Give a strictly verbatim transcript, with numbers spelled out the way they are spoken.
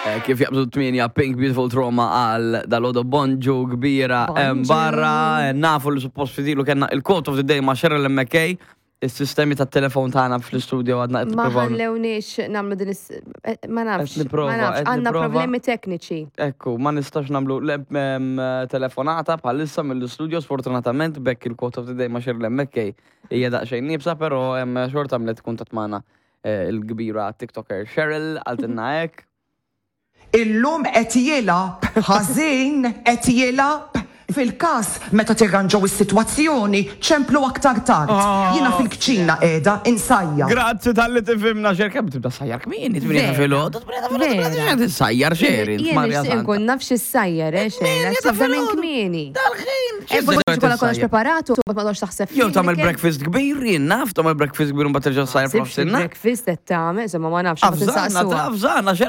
Eh, Kif jaqbżu tmienja, Pink, Beautiful Trauma għal dal-għodu. Bonġu kbira hemm Bonġu. barra, eh, nafu li suppost fidilu kellna il-quote of the day ma' Cheryl M K. Is-sistemi tat-telefon tagħna fl-istudio għadna qed Ma nippruvaw. ħallewniex nagħmlu din is... eh, Ma nafx. Qed nipprova, Ma nafx. qed Għandna nipprova. problemi tekniċi. Ekku, ma nistax nagħmlu le- em, telefonata bħalissa mill-studio sfortunatament, bekk il-quote of the day ma' Cheryl M K hija daqsxejn nieqsa, però em, xorta għamlet kuntatt magħna eh, il-kbira TikToker Cheryl, qaltilna hekk. Illum qed jilgħab ħażin, qed jilgħab. Fil-każ meta tirranġaw is-sitwazzjoni, ċemplu aktar tard. Jiena fil-kċina qiegħda insajjar. Grazzi talli tifhimna, Xer, kemm tibda sajjar kmieni, tmienja ta' Vera. filgħodu, tmienja ta' filgħodu, Vera. tibda sajjar Xer, Jien Marja nixtieq Santa. nkun naf x'issajjar, eh, xejn. Tmienja Għax ta' tibda minn filgħodu. kmieni. Dal-ħin. Eh, forsi kollha kollox preparatu, ma tqgħodx taħseb Jew fih, tagħmel li breakfast kbir, jien naf, tagħmel breakfast kbir u mbagħad terġa' sajjar Sibx f'nofsinhar. breakfast qed tagħmel, insomma, ma nafx, ma Avżana, tinsaqsuha. ta' avżana, Xer.